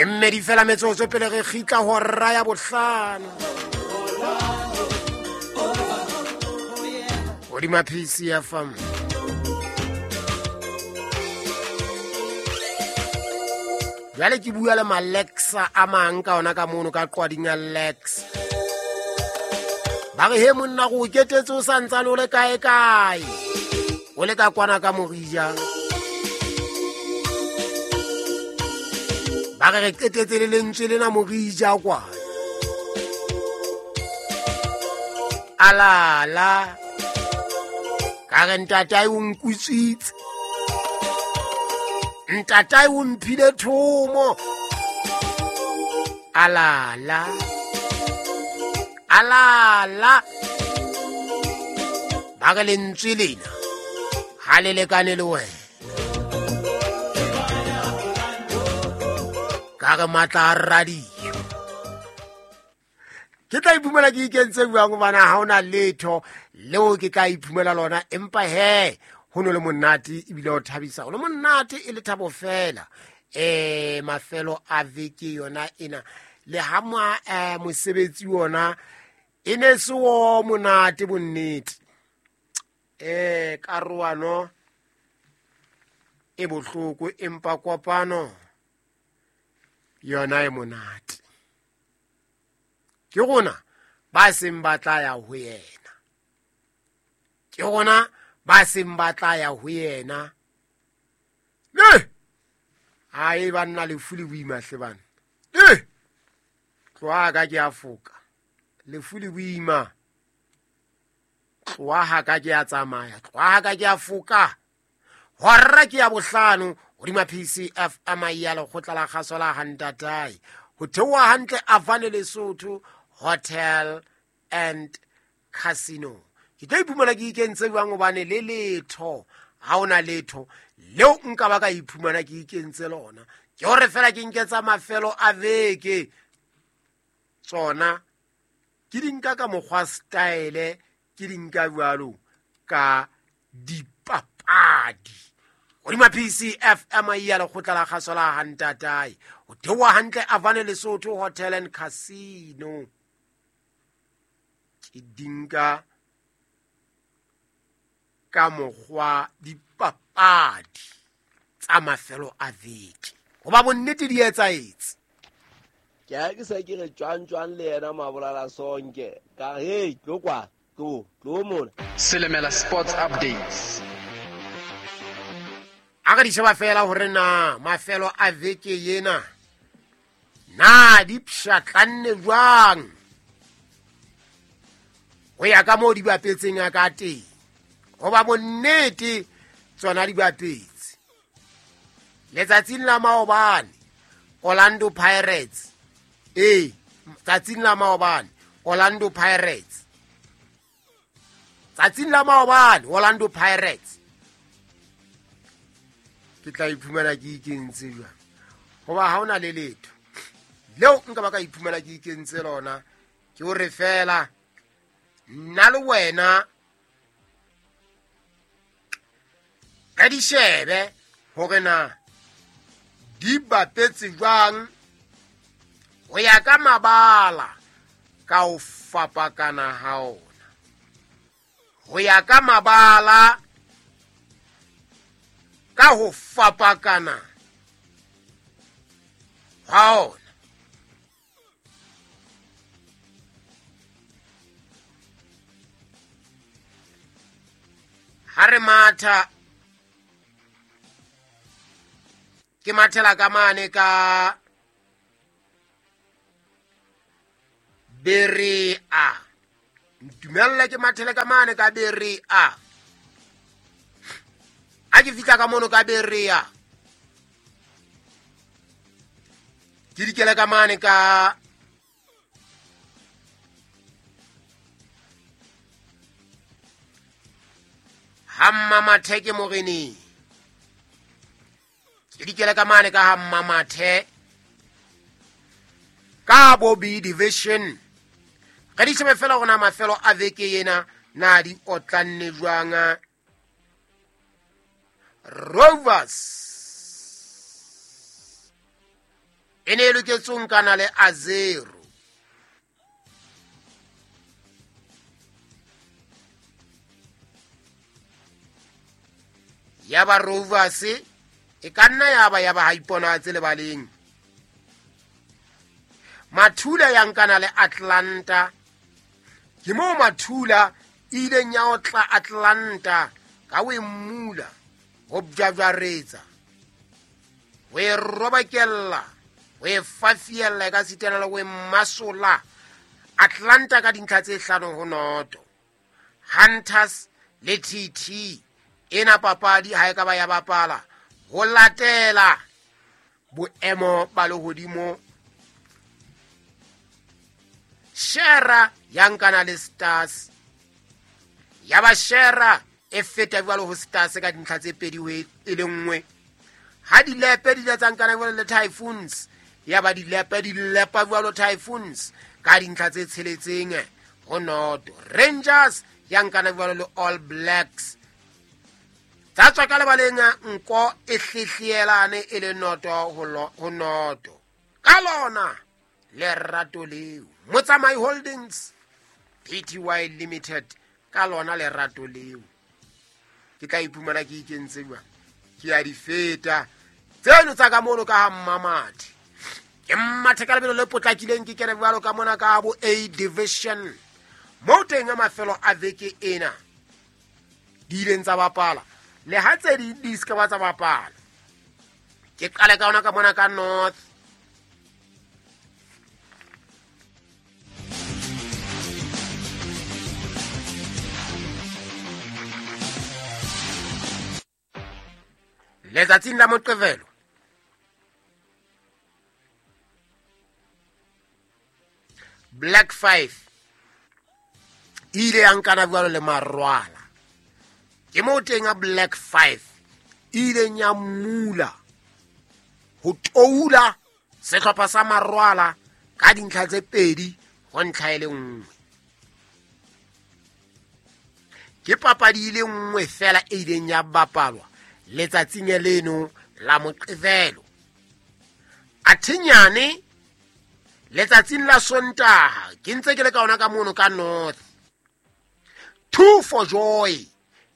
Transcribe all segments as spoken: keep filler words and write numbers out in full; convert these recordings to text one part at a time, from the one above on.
E mmedi fela metsotso pele re kgitla hora ya bohlano. Hodima P C F M. Jwale ke bua le Malexa a mang ka ona ka mono ka qwading ya Lex. Ba re he monna go ketetse o santsane o le kae kae. O le ka kwana ka Morija. Ba re re qetetse le lentswe lena Morija kwa. Alala. Ka re ntatae o nkutswitse. Ntatae o mphile thomo. Alala. Alala. Ba re lentswe lena ha le lekane le wena. Ka re matla a radio. Ke tla iphumela ke ikentse jwang hobane ha hona letho leo ke tla iphumela lona, empa he ho no le monate ebile o thabisa. Ho le monate e le thabo fela. Eh mafelo a veke yona ena le ha ma mosebetsi wona e ne se o monate bonnete. Eh karoano e bohloko empa kopano yona e monate. Ke rona ba seng ba tla ya ho yena. Ke rona ba seng ba tla ya ho yena. Ne! Ai banna lefu le boima hle bana. Eh! Tloha ka ke a foka. Lefu le boima. Tloha ka ke a tsamaya. Tloha ka ke a foka. Hora ke ya bohlano hodima P C F M ya lekgotla la kgaso la Hantatai. Ho theoha hantle Avane Lesotho Hotel and Casino. Ke tlo iphumana ke ikentse jwang hobane le letho ha ona letho leo nka ba ka iphumana ke ikentse lona. Ke hore fela ke nketsa mafelo a veke tsona ke di nka ka mokgwa style, ke di nka jwalo ka dipapadi. Hodima P C F M ya lekgotla la kgaso la Hantatai. Ho theoha hantle Avane Lesotho Hotel and Casino. Ke di nka ka mokgwa dipapadi tsa mafelo a veke. Hoba bonnete di etsaetse. Ke a ke se ke re tjwang tjwang le yena Mabolala Sonke. Ka hey tlo kwa tlo tlo mona. Selemela Sports Updates. A re di sheba fela hore na mafelo a veke yena na di pshatlanne jwang ho ya ka moo di bapetseng a ka teng. Hoba bonnete tsona di bapetse. Letsatsing la maobane Orlando Pirates, eh tsatsing la maobane Orlando Pirates, tsatsing la maobane Orlando Pirates. Ke tla iphumana ke ikentse jwang hoba ha hona le letho leo nka ba ka iphumana ke ikentse lona. Ke hore fela nna le wena ka di shebe hore na di bapetse jwang ho ya ka mabala ka ho fapakana ha ona. Ho ya ka mabala ka ho fapakana ha ona. Ha re matha ke mathela ka mane ka Berea. Ntumella ke mathele ka mane ka Berea. A ke fihla ka mono ka Berea. Ke dikele ka mane ka Hammamathe ke moreneng. Ke dikele ka mane ka Hammamathe ka bo B division. Re di shebe fela hore na mafelo a veke yena na di otlanne jwang. Rovers e E ne e loketse ho nkana le Azero. Ya ba Rovers e ka nna ya ba ya ba ha iponatse lebaleng. Mathula ya nkana le Atlanta. Ke moo Mathula e ileng ya otla Atlanta ka ho e mmula, ho bjabjaretsa, ho e robakella, ho e fafiella e ka sitana le ho e masola Atlanta ka dintlha tse hlano ho noto. Hunters le T T ena papadi ha e ka ba ya bapala ho latela boemo ba lehodimo. Shera ya nkana le Stars. Ya ba Shera e feta jwalo ho Stars ka dintlha tse pedi ho e le nngwe. Ha dilepe di ile tsa nkana jwalo le Typhoons, ya ba dilepe di lepa jwalo Typhoons ka dintlha tse tsheletseng ho noto. Rangers ya nkana jwalo le All Blacks. Tsa tswa ka lebaleng nko e hlehlelane e le noto ho noto. Ka lona lerato leo Motsamai Holdings P T Y Limited, ka lona lerato leo ke tla iphumana ke ikentse jwang, ke a di feta tseno tsa ka mono ka ha Mmamathe. Ke mmathe ka lebelo le potlakileng, ke kene jwalo ka mona ka bo A Division moo teng a mafelo a veke ena di ileng tsa bapala le ha tse ding di se ka ba tsa bapala. Ke qale ka ona ka mona ka North. Letsatsing la Moqebelo Black Five e ile ya nkana jwalo le Marwala. Ke moo teng a Black Five e ileng ya mula ho toula sehlopha sa Marwala ka dintlha tse pedi ho ntlha e le nngwe. Ke papadi e le nngwe fela e ileng ya bapalwa letsatsing leno la Moqebelo. Athinyane letsatsing la Sontaha ke ntse ke le ka ona ka mono ka North. Two for Joy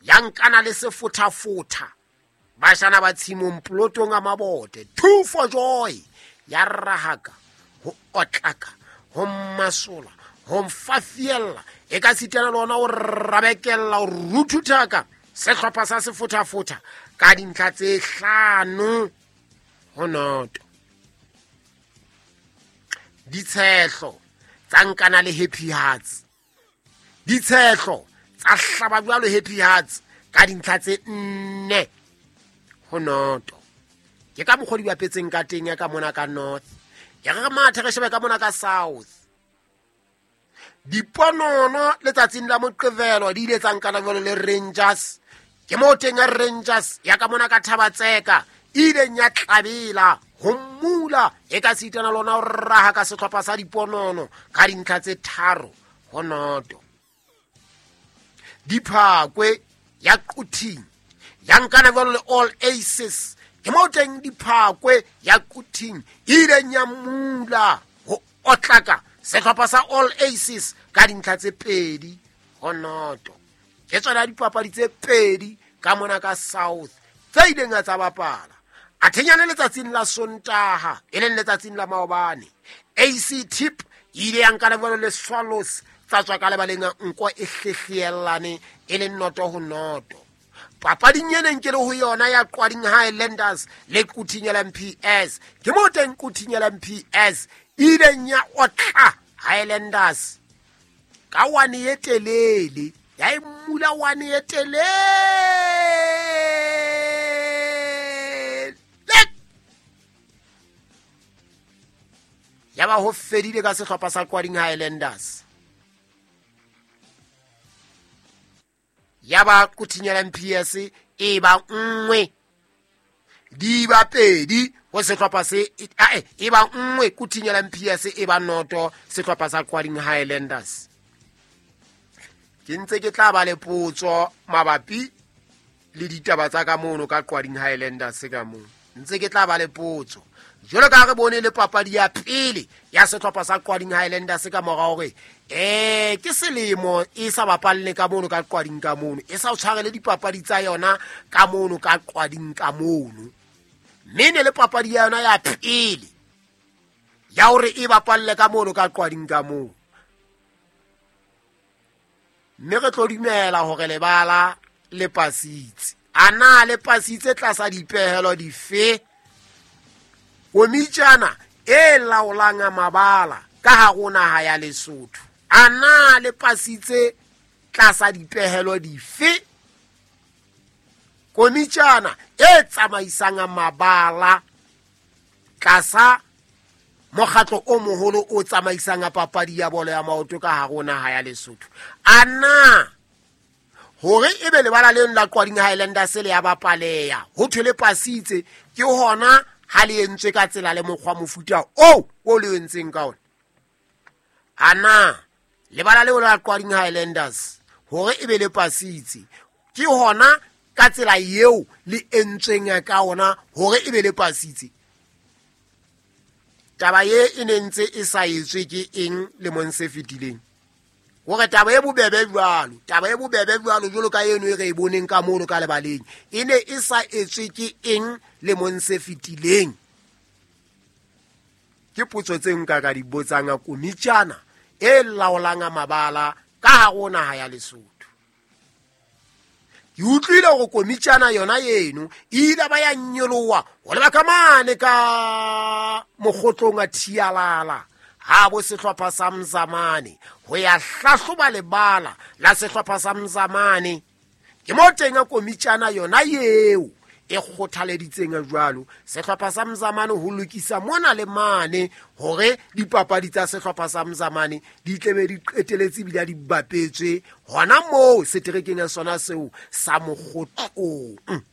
ya nkana le sefothafotha bashana ba tshimong plotong a mabote. Two for Joy ya rahaka ho otlaka ho masola ho mfafiella e ka sitana le ona o rabekella o ruthuthaka sehlopha sa sefothafotha ka dintlha tse hlano ho noto. Ditshehlo tsa nkana le Happy Hearts. Ditshehlo tsa hlaba jwalo Happy Hearts ka dintlha tse nne ho noto. Ke ka mokgwa di bapetseng ka teng ya ka mona ka North. Ya re mathe re shebe ka mona ka South. Diponono letsatsing la Moqebelo di ile tsa nkana jwalo le Rangers. Ke moo teng ya Rangers ya ka mona ka Thabatseka e ileng ya tlabela ho mmula e ka sitana lona ho raha ka sehlopha sa Diponono ka dintlha tse tharo ho noto. Diphakwe ya Quthing ya nkana jwalo le All Aces. Ke moo teng Diphakwe ya Quthing e ileng ya mmula ho otlaka sehlopha sa All Aces ka dintlha tse pedi ho noto. Ke tsona dipapadi tse pedi ka mona ka South tse ileng tsa bapala. Athinyane letsatsing la Sontaha e leng letsatsing la maobane, A C Tip e ile ya nkana jwalo le Swallows tsa tswa ka lebaleng nko e hlehlelane e le noto ho noto. Papading e neng ke le ho yona ya Qwading Highlanders le Quthing L M P S, ke moo teng Quthing L M P S e ileng ya otla Highlanders ka wane e telele, ya e mmula wane e telele. Ya ba ho fedile ka sehlopha sa Qwading Highlanders. Ya ba Quthing L M P S e ba nngwe di ba pedi ho sehlopha se e ba nngwe Quthing L M P S e ba noto sehlopha sa Qwading Highlanders. Ke ntse ke tla ba le potso mabapi le ditaba tsa ka mono ka Qwading Highlanders ka moo. Ntse ke tla ba le potso. Jwalo ka re bone le papadi ya pele ya sehlopha sa Qwading Highlanders ka mora hore eh ke selemo e sa bapalle ka mono ka Qwading ka mono, e sa o tshwarele dipapadi tsa yona ka mono ka Qwading ka mono. Mme ne le papadi ya yona ya pele ya hore e bapalle ka mono ka Qwading ka mono. Mme re tlo dumela hore lebala le pasitse. Ana le pasitse tlasa dipehelo dife? Komitjana e laolang mabala ka hare naha ya Lesotho. Ana le pasitse tlasa dipehelo dife? Komitjana e tsamaisang mabala tlasa mokgatlo o moholo o tsamaisang papadi ya bolo ya maoto ka hare naha ya Lesotho. Ana hore ebe lebala leno la Qwading Highlanders le ya bapaleya ho thwe le pasitse ke hona ha le entswe ka tsela le mokgwa mofuta o o le entseng ka ona. Ana lebala leo la Qwading Highlanders hore ebe le pasitse ke hona ka tsela eo le entsweng ka ona hore ebe le pasitse. Taba ye e ne ntse e sa etswe ke eng lemong se fetileng? Hore taba e bobebe jwalo, taba e bobebe jwalo jwalo ka eno e re e boneng ka mono ka lebaleng, e ne e sa etswe ke eng lemong se fetileng? Ke potso tse nka ka di botsang komitjana e laolang mabala ka hare naha ya Lesotho. Ke utlwile hore komitjana yona eno e ile ba ya nyoloha ho leba ka mane ka mokgotlong a Thialala ha bo sehlopha sa Mzamane ho ya hlahloba lebala la sehlopha sa Mzamane. Ke mo teng komitjana yona eo e kgothaleditseng jwalo sehlopha sa Mzamane ho lokisa mona le mane hore dipapadi tsa sehlopha sa Mzamane di tlebe di qeteletse ebile di bapetswe hona moo seterekeng ya sona seo sa mokgotlong.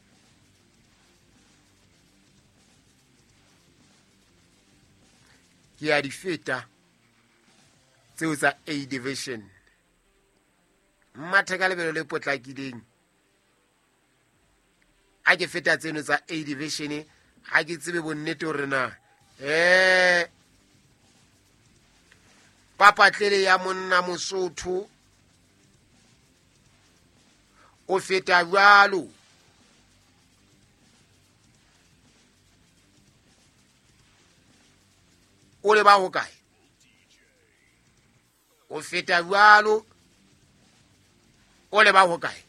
Ke ya di feta tseo tsa A division. Mathe ka lebelo le potlakileng. Ha ke feta tseno tsa A division ha ke tsebe bonnete hore na eh papatlele ya monna Mosotho o feta jwalo o le ba ho kae? O feta jwalo o le ba ho kae?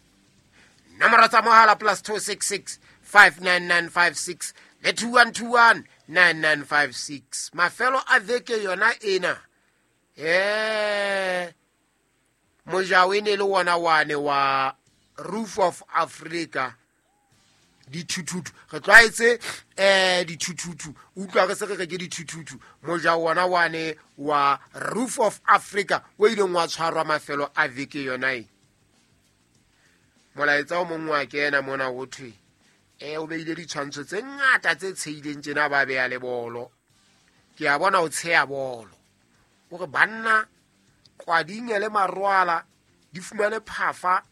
Nomoro tsa mohala plus two six six five nine nine five six le two one two one nine nine five six. Mafelo a veke yona ena eh mojao e ne le wona wane wa Roof of Africa dithuthuthu. Re tlwaetse eh dithuthuthu, utlwa re se re re ke dithuthuthu. Mojao wona wane wa Roof of Africa o ileng wa tshwarwa mafelo a veke yona e. Molaetsa o mongwe wa kena mona ho thwe eh o beile ditshwantsho tse ngata tse tsheileng tjena ba beya le bolo. Ke a bona o tsheya bolo. Hore banna Qwading le Marwala di fumane phafa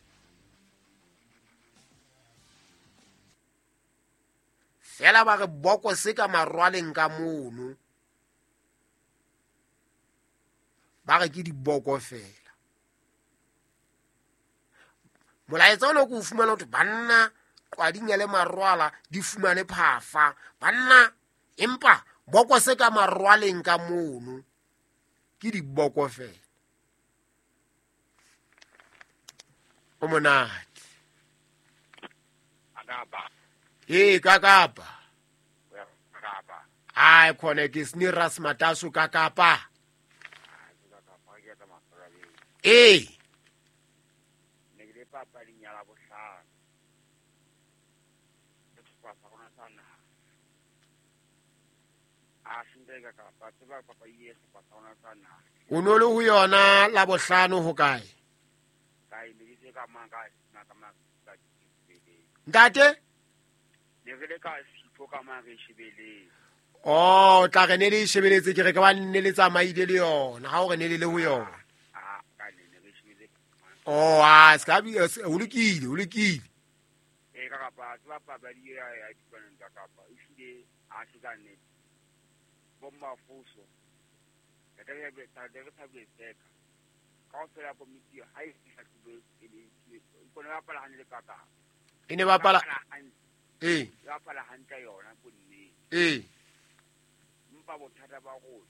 fela ba re boko se ka Marwaleng ka mono. Ba re ke diboko fela. Molaetsa ona ko o fumana hore banna Qwading le Marwala di fumane phafa. Banna empa boko se ka Marwaleng ka mono ke diboko fela. O monate. Akapa. Eh kakapa. Kakapa. Ai khona ke sniras mataso kakapa. Eh. Papading ya Labohlano. Sehlopha sa rona sa naha. A senteka kapa tseba papadi e sehlopha sa rona sa naha. O no le ho yona Labohlano ho kae? Kae ne ke ka mang ka ka mang ka Ntate? Ne re le ka sipho ka mang re shebeletse. Oh, tla re ne le shebeletse ke re ka ba nne le tsamaile le yona. Ha o re ne le le ho yona. Ah, ka ne ne re shebeletse. Oh, ah, ska bi o lokile, o lokile. Eh ka kapa tseba papadi ya ya dipaneng tsa kapa e hlile a se ka nnete. Bommafuso e ne bapala ee bapala hantle yona bonnete ee mpa bothata ba rona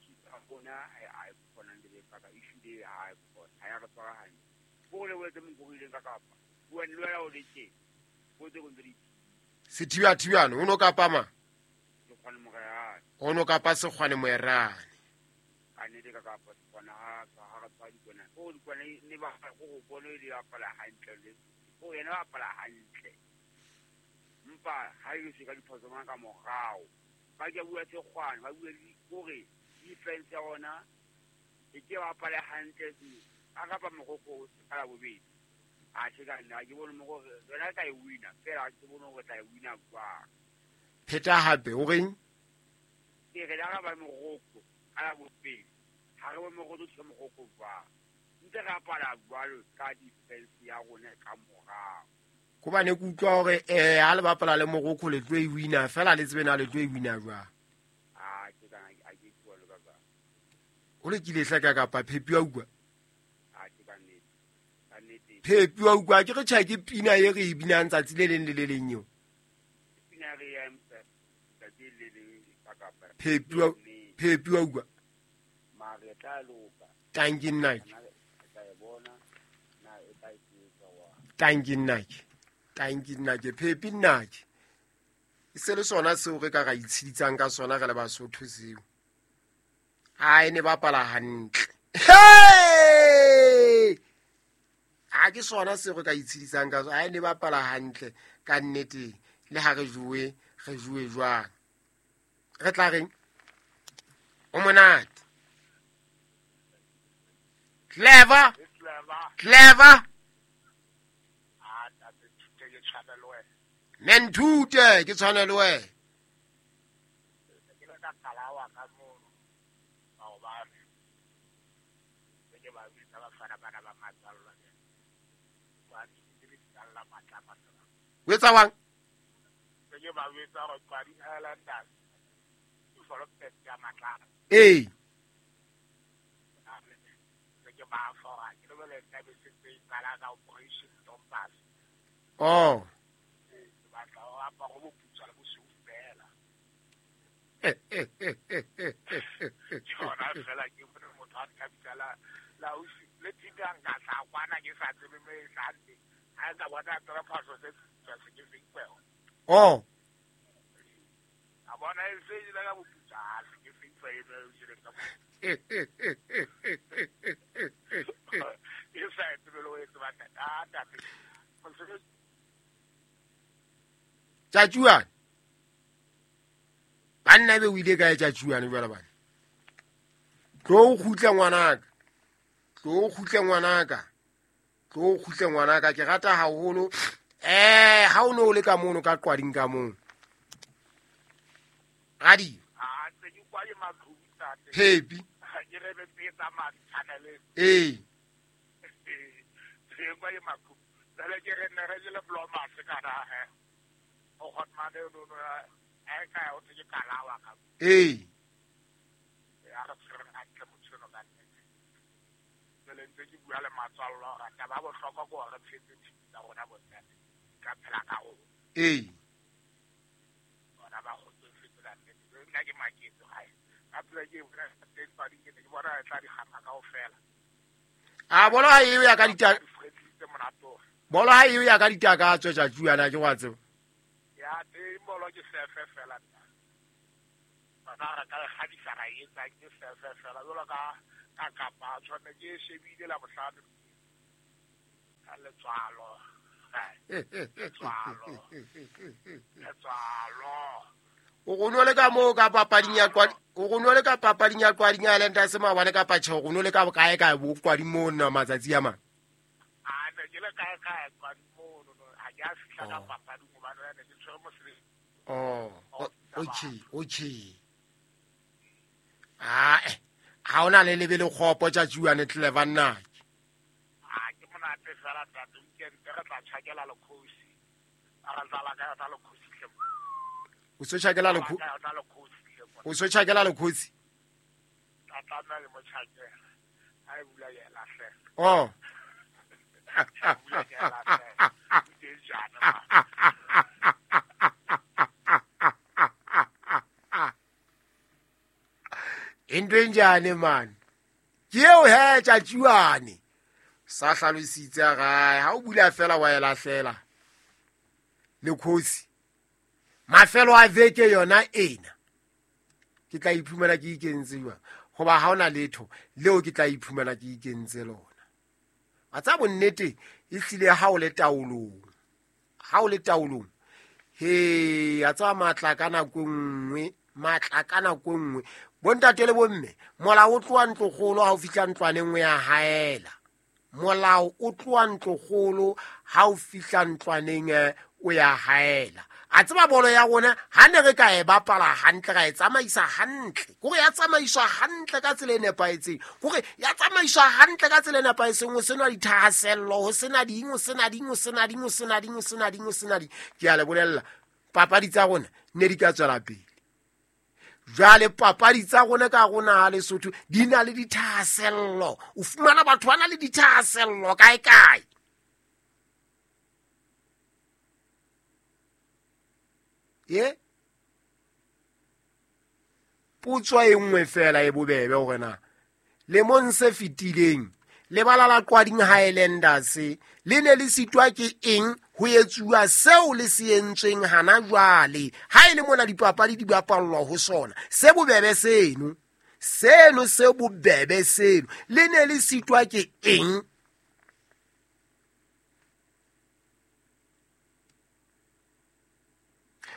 ke bona ha e kgona le ka issue ha e kgona ha ya re tshwara hantle bo le wetse mongwe ka kapa bua le wena o le tje bo tse go ntse sethiba thibano o no kapa ma Sekgwane Moerane o no kapa Sekgwane Moerane ka nete ka kapa Sekgwane ha ha re tshwara dikwana o dikwana ne ba go go bona e di bapala hantle le o yena ba bapala hantle mpa ha e se ka diphoso mang ka morao ba ke bua Sekgwane ba bua gore defense ya ona e ke bapala hantle a kapa mogoko ka la bobedi a se ka nna ke bone mo gore rena ka e wina fela ke bone gore tla e wina kwa pheta hape o reng ke re la ba mogoko ka la bobedi ha re bone mogoko tse mogoko kwa ntse ra pala jwalo ka defense ya rona ka morao ko bane ke utlwa hore eh ha le bapala le mogoko le tlo e wina fela le tsebe na le tlo e wina jwang a ke ka a ke bua le ka ka o le kile hlaka kapa phepi wa utlwa a ke ka nnete ka nnete phepi wa utlwa ke re tjha ke pina e re e binang tsatsi le leng le le leng eo pina re ya tsatsi le leng ka kapa phepi wa phepi wa utlwa mare tla loka tanki nna ke tla e bona na e tla etsa wa tanki nna ke tanki nna ke phepi nna ke e se le sona seo re ka ra itshiditsang ka sona re le Basotho seo a e ne bapala hantle hey a ke sona seo re ka itshiditsang ka sona a e ne bapala hantle ka nnete le ha re jowe re jowe jwang re tla reng o monate clever clever Menthute ke tshwane le wena ke le ka kalawa ka mono maobane ke ba bitsa ba fana bana ba matsalla ba di di tsalla matla matla o etsa wang ke ba bitsa go Qwadi Islanders ke follow pet ya matla ee ke ba fora ke le le tla be se tse tsala ka operation Dompas oh Oh. Tjatjuane banna be o ile kae tjatjuane jwale bana tlo kgutla ngwanaka tlo kgutla ngwanaka tlo kgutla ngwanaka ke rata haholo eh ha o no le ka mono ka Qwading ka mono radi a tse ke kwa maqhubu tate phepi ke re be tsa mathanele eh ke kwa maqhubu le ke re ne re le bloma se ka ra he o khotmane no no e ka o tse kalawa ka eh ya re tshwere hantle motho no ka nnete le ntse ke bua le matswallo ra taba bohlokwa go re tshetse tsa rona bontate ka phela ka o eh bona ba go tsfetsa nnete nna ke maketse gae ka phela ke bona teng ba di ke bona tla di gama kaofela a bona ha eo ya ka dita bolo ha eo ya ka ditaka tswe tjatjuana ke wa tseba ya teng bolo ke sefe fela nna bana re ka kgadisa ra etsa ke sefe fela jalo ka ka kapa tshwane ke shebile la bohlano ka letswalo letswalo letswalo o go no le ka mo ka papading ya Qwadi o go no le ka papading ya Qwading ya lenta se maobane ka patjhe o go no le ka bokae kae bo Qwadi mo nna matsatsi a mang a ne ke le kae kae Qwadi mo no ha ke a fihla ka papading hobane ne ke tshwere mosebetsi oh okay okay ah ha ona le lebele kgopo tjatjuane clever nna a ke monate fela ntate weekend re tla tjhakela lekgosi a re dlala ka yona lekgosi hle o se tjhakela lekgosi O so tjhakela lekgotsi? Ka tlameha ke mo tjhakela. Ha e bula ke e lahlela. Oh. Ha e bula ke e lahlela. O teng jana, man. Into e njane man. Ke eo he tjatjuane. Sa hlalositse gae ha o bula fela wa e lahlela. Lekgosi. Mafelo a veke yona ena. Ke tla iphumana ke ikentse jwang? Hoba ha ona letho leo ke tla iphumana ke ikentse lona. Wa tseba bonnete e hlile ha o le taolong. Ha o le taolong. He, a tseba matla ka nako e nngwe, matla ka nako e nngwe. Bontate le bomme, molao o tloha ntlokgolo ha o fihla ntlwaneng o ya haela. Molao o tloha ntlokgolo ha o fihla ntlwaneng o ya haela. A tseba bolo ya rona ha ne re ka e bapala hantle ra e tsamaisa hantle. Kore ya tsamaiswa hantle ka tsela e nepahetseng. Kore ya tsamaiswa hantle ka tsela e nepahetseng ho sena dithahasello, ho sena ding, ho sena ding, ho sena ding, ho sena ding, ho sena ding, ho sena ding. Ke a le bolella, papadi tsa rona ne di ka tswela pele. Jwale papadi tsa rona ka rona ha Lesotho di na le dithahasello. O fumana batho ba na le dithahasello kae kae. Ye? Potso e nngwe fela e bobebe hore na lemong se fetileng lebala la Qwading Highlanders le ne le sitwa ke eng ho etsuwa seo le se entsweng hana jwale ha e le mona dipapadi di bapallwa ho sona se bobebe seno seno se bobebe seno le ne le sitwa ke eng?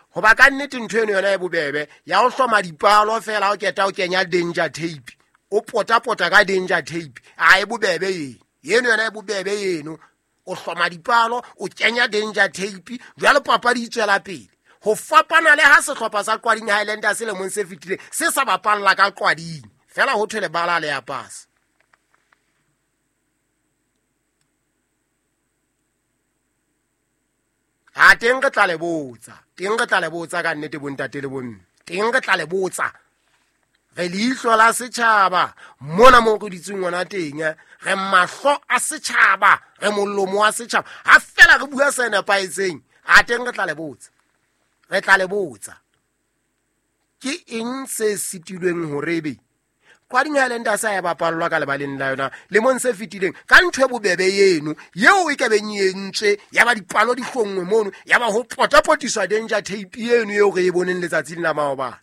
Hoba ka nnete ntho eno yona e bobebe ya ho hloma dipalo fela o keta o kenya danger tape o pota-pota ka danger tape a e bobebe eno eno yona e bobebe eno o hloma dipalo o kenya danger tape jwale papadi e tswela pele ho fapana le ha sehlopha sa Qwading Highlanders selemong se fetileng se sa bapalla ka Qwading fela ho thwe lebala le ya pasa. A teng re tla le botsa, teng re tla le botsa ka nnete bontate le bomme, teng re tla le botsa. Re leihlo la setjhaba mona mo re ditseng hona teng, re mahlo a setjhaba, re molomo wa setjhaba. Ha fela re bua se nepahetseng, a teng re tla le botsa. Re tla le botsa. Ke eng se sitilweng hore ebe Qwading Highlanders ya bapallwa ka lebaleng la yona lemong se fetileng ka ntho e bobebe eno yeo e ka beng e entswe ya ba dipalo di hlongwe mono ya ba ho potapotiswa danger tape eno eo re e boneng letsatsing la maobane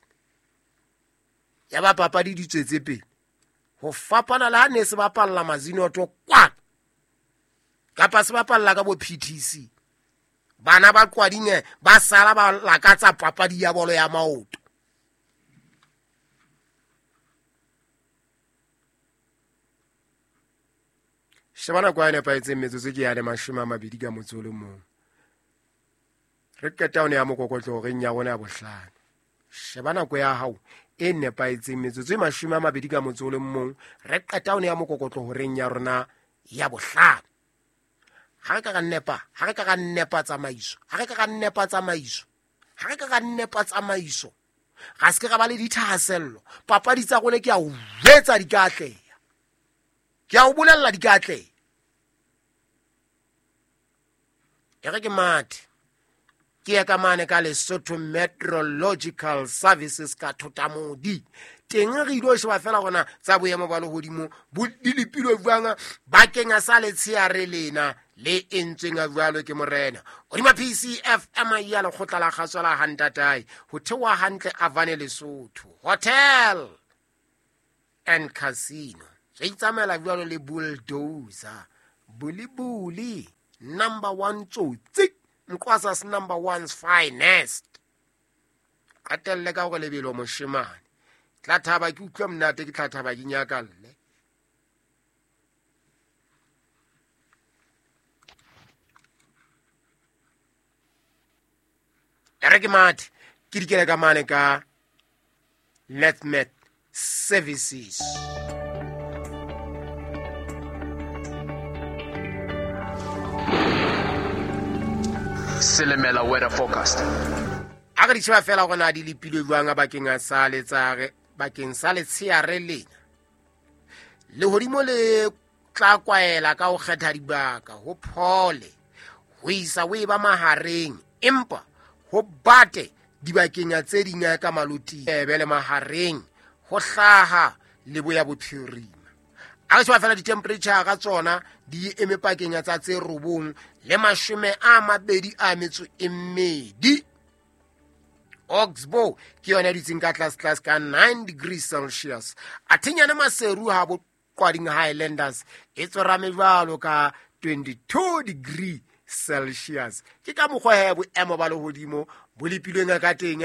ya ba papadi di tswetse pele ho fapana le ha ne se bapalla Mazinoto kwa kapa se bapalla ka bo P T C bana ba Qwading ba sala ba lakatsa papadi ya bolo ya maoto. Sheba nako ya nepahetseng metsotso ke ya le mashome a mabedi ka motso o le mong. Re qeta ho ne ya mokokotlo horeng ya rona ya bohlano. Sheba nako ya hao e nepahetseng metsotso e mashome a mabedi ka motso o le mong. Re qeta ho ne ya mokokotlo horeng ya rona ya bohlano. Ha re ka ra nepa, ha re ka ra nepa tsamaiso, ha re ka ra nepa tsamaiso, ha re ka ra nepa tsamaiso. Ga se ke ra ba le dithahasello. Papadi tsa rona ke a o jwetsa di ka atleha. Ke a o bolella di ka atleha. E re ke mathe. Ke ya ka mane ka Lesotho Meteorological Services ka Thotamodi. Teng re ilo sheba fela rona tsa boemo ba lehodimo bo di lepilwe jwang bakeng sa letsheare lena le entsweng jwalo ke morena. Hodima P C F M ya lekgotla la kgaso la Hantatai ho theoha hantle Avane Lesotho Hotel and Casino. Re itsamaela jwalo le bulldozer bulibuli number one tsotsi Mkwasas number one's finest. Qetelle ka hore lebelo moshemane. Tla thaba ke utlwe monate ke tla thaba ke nyakalle. E re ke mathe ke dikele ka mane ka Letmet Services. Silimela weather forecast. A re di sheba fela gore na di lepilwe jwang bakeng sa letsare bakeng sa letsheare lena. Lehodimo le tla kwaela ka ho kgetha dibaka ho phole ho isa ho eba mahareng, empa ho bate dibakeng tse ding ka maloti ebe le mahareng ho hlaha leboya bophirima. A re sheba fela di-temperature ka tsona di eme pakeng tsa tse robong le mashome a mabedi a metso e mmedi. Oxbow ke yona e dutseng ka tlase tlase ka nine degrees Celsius. Athenyane Maseru ha bo Kwading Highlanders e tsorame jwalo ka twenty-two degree Celsius. Ke ka mokgwa he boemo ba lehodimo bo lepilweng ka teng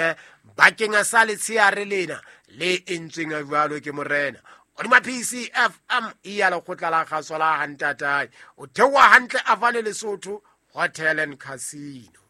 bakeng sa letsheare lena le entsweng jwalo ke morena. Hodima P C F M e ya lekgotla la kgaso la Hantatae. O theoha hantle Avane Lesotho Hotel and Casino.